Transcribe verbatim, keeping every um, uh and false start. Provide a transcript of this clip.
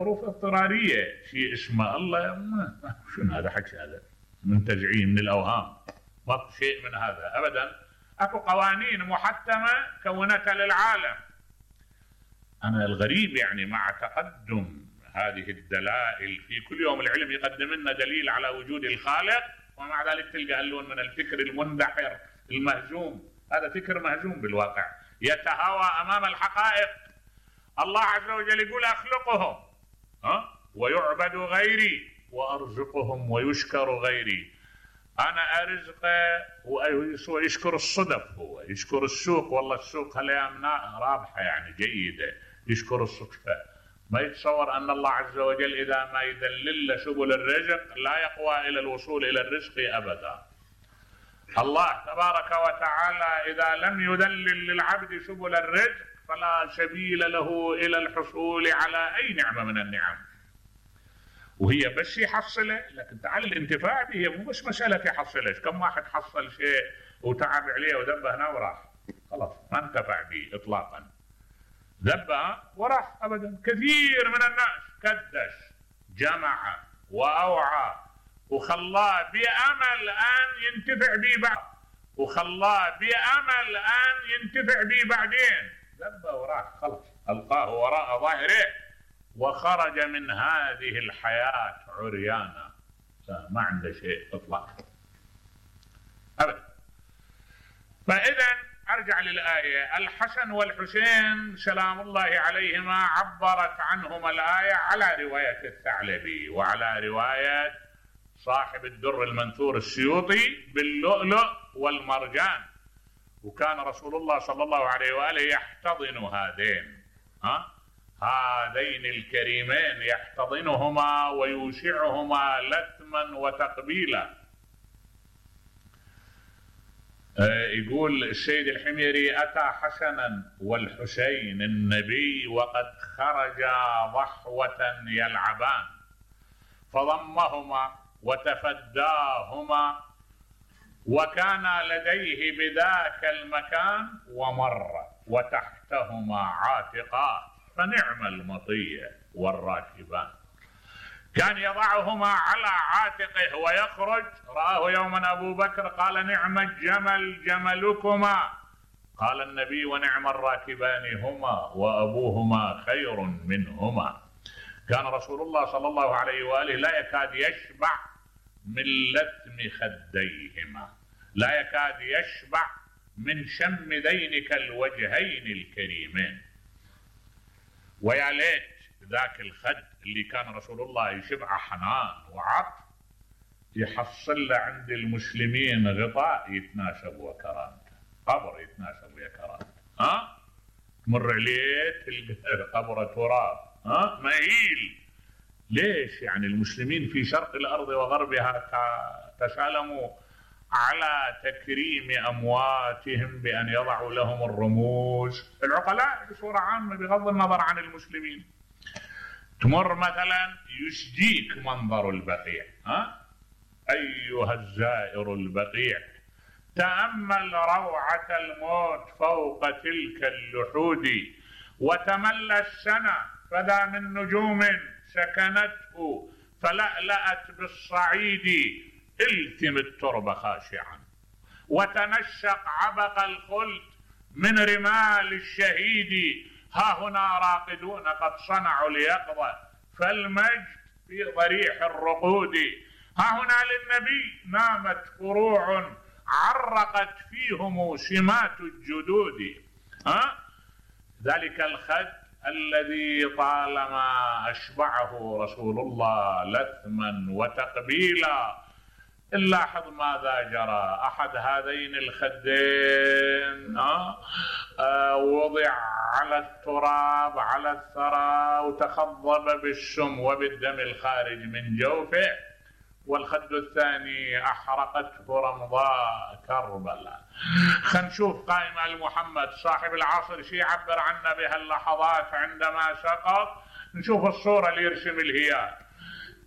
ظروف اضطراريه، شيء اسمه الله شنو هذا حكي هذا منتزعين من الاوهام، ما شيء من هذا ابدا. اكو قوانين محتمه كونتها للعالم. انا الغريب يعني مع تقدم هذه الدلائل في كل يوم العلم يقدم لنا دليل على وجود الخالق، ومع ذلك تلقى اللون من الفكر المندحر المهزوم. هذا فكر مهزوم بالواقع يتهاوى امام الحقائق. الله عز وجل يقول اخلقهم ها ويعبد غيري وارزقهم ويشكر غيري. انا ارزقه ويشكر الصدف، هو يشكر السوق، والله السوق هالايام رابحه يعني جيده، يشكر الصدفه. ما يتصور ان الله عز وجل اذا ما يدلل سبل الرزق لا يقوى الى الوصول الى الرزق ابدا. الله تبارك وتعالى اذا لم يدلل للعبد سبل الرزق فلا سبيل له الى الحصول على اي نعمه من النعم. وهي بس يحصله، لكن تعال الانتفاع به هي مو بس مساله يحصلش. كم واحد حصل شيء وتعب عليه وذبه هنا وراح، خلاص ما انتفع به اطلاقا، ذبه وراح ابدا. كثير من الناس كدش جمع واوعى وخلاه بامل ان ينتفع به بعد، وخلاه بامل ان ينتفع به بعدين، ذبه وراح خلاص، القاه وراء ظهره وخرج من هذه الحياة عريانا، ما عنده شيء اطلاقا ابدا. فاذا ارجع للآية. الحسن والحسين سلام الله عليهما عبرت عنهما الآية على رواية الثعلبي وعلى رواية صاحب الدر المنثور السيوطي باللؤلؤ والمرجان. وكان رسول الله صلى الله عليه وآله يحتضن هذين ها هذين الكريمين، يحتضنهما ويوسعهما لثما وتقبيلا. يقول السيد الحميري أتى حسنا والحسين النبي وقد خرجا ضحوة يلعبان، فضمهما وتفداهما وكان لديه بذاك المكان ومر وتحتهما عاتقات فنعم المطية والراكبان. كان يضعهما على عاتقه ويخرج. رآه يوما أبو بكر قال نعم الجمل جملكما، قال النبي ونعم الراكبان هما وأبوهما خير منهما. كان رسول الله صلى الله عليه وآله لا يكاد يشبع من لثم خديهما، لا يكاد يشبع من شم ذينك الوجهين الكريمين. ويا ليت ذاك الخد اللي كان رسول الله يشبع حنان وعطف يحصل له عند المسلمين غطاء يتناسب وكرامته، قبر يتناسب ويا كرامته. ها تمر عليه تلقى قبره تراب ها مهيل. ليش؟ يعني المسلمين في شرق الارض وغربها تسالموا على تكريم أمواتهم بأن يضعوا لهم الرموز. العقلاء بصورة عامة بغض النظر عن المسلمين. تمر مثلا يسجيك منظر البقيع ها أيها الزائر البقيع، تأمل روعة الموت فوق تلك اللحود، وتملى السنة فذا من نجوم سكنته فلألأت بالصعيد، التم التربة خاشعا وتنشق عبق الخلد من رمال الشهيد. ها هنا راقدون قد صنعوا اليقظة فالمجد في ضريح الرقود. ها هنا للنبي نامت فروع عرقت فيهم سمات الجدود. ها ذلك الخد الذي طالما أشبعه رسول الله لثما وتقبيلا. نلاحظ ماذا جرى. أحد هذين الخدين آه آه وضع على التراب على الثرى وتخضب بالسم وبالدم الخارج من جوفه، والخد الثاني أحرقته رمضاء كربلاء. خلينا نشوف قائمة المحمد صاحب العصر شي يعبر عنا بها اللحظات عندما سقط. نشوف الصورة اللي يرسم الهيال.